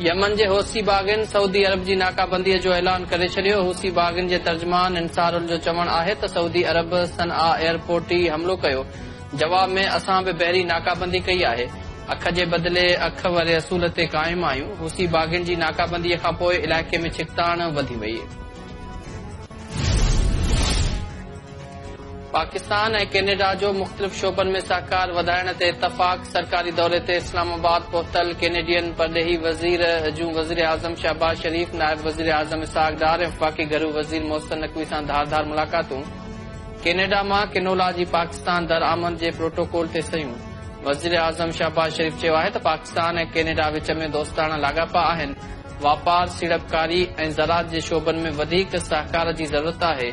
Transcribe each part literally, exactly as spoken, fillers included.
Yemen جي حوثي باغين سعودي عرب جي ناڪابنديءَ جو اعلان ڪري ڇڏيو. حوثي باغين جي ترجمان انصار جو چوڻ آهي ته سعودي عرب صنعا ايئرپورٽ تي حملو ڪيو، جواب ۾ اسان به بحري ناڪابندي ڪئي آهي، اک جي بدلي اک واري اصول تي قائم آهيون. حوثي باغين جي ناڪابنديءَ کان پوءِ علائقي ۾ ڇڪتاڻ وڌي وئي. پاڪستان ۽ ڪينيڊا جو مختلف شعبن ۾ سهڪار وڌائڻ تي اتفاق. سرڪاري دوري تي اسلام آباد پهتل ڪينيڊين پرڏيهي وزير جون وزير اعظم شهباز شريف، نائب وزير اعظم اسحاق ڊار ۽ وفاقي گهرو وزير محسن نقوي سان ڌار ڌار ملاقاتون. ڪينيڊا مان ڪنولا جي پاڪستان درآمد جي پروٽوڪول تي صحيحون. وزير اعظم شهباز شريف چيو آهي ته پاڪستان ۽ ڪينيڊا وچ ۾ دوستاڻا لاڳاپا آهن، واپار، سيڙپڪاري ۽ زراعت جي شعبن ۾ وڌيڪ سهڪار جي ضرورت آهي،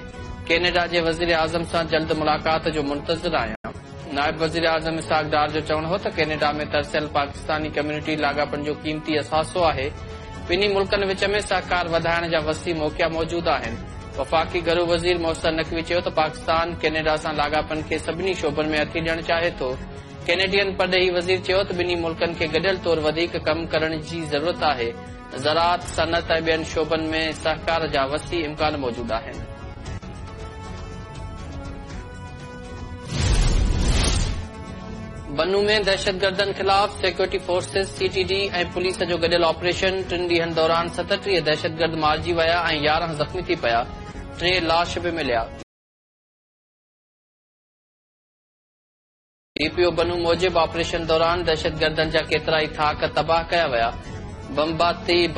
ڪينيڊا جي وزير اعظم سان جلد ملاقات جو منتظر آهيان. نائب وزير اعظم اسحاق ڊار جو چوڻ هو ته ڪينيڊا ۾ ترسيل پاڪستاني ڪميونٽي لاڳاپن جو قيمتي اثاثو آهي، ٻنهي ملڪن وچ ۾ سهڪار وڌائڻ جا وسيع موقعا موجود آهن. وفاقي گهرو وزير محسن نقوي چيو ته پاڪستان ڪينيڊا سان لاڳاپن کي سڀني شعبن ۾ هٿي ڏيڻ چاهي ٿو. ڪينيڊين پرڏيهي وزير چيو ته ٻنهي ملڪن کي گڏيل طور وڌيڪ ڪم ڪرڻ جي ضرورت آهي، زراعت، صنعت ۽ ٻين شعبن ۾ سهڪار جا وسيع امڪان موجود آهن. بنو ۾ دهشتگردن خلاف security forces, C T D ۽ police جو گڏيل آپريشن. ٽن ڏينهن دوران ستٽيهه دهشتگرد مارجي ويا ۽ يارهن زخمي ٿي پيا، ٽي لاش به مليا. ڊي پي او بنو موجب آپريشن دوران دهشتگردن جا ڪيترائي ٿاڪ تباهه ڪيا ويا. بمباتي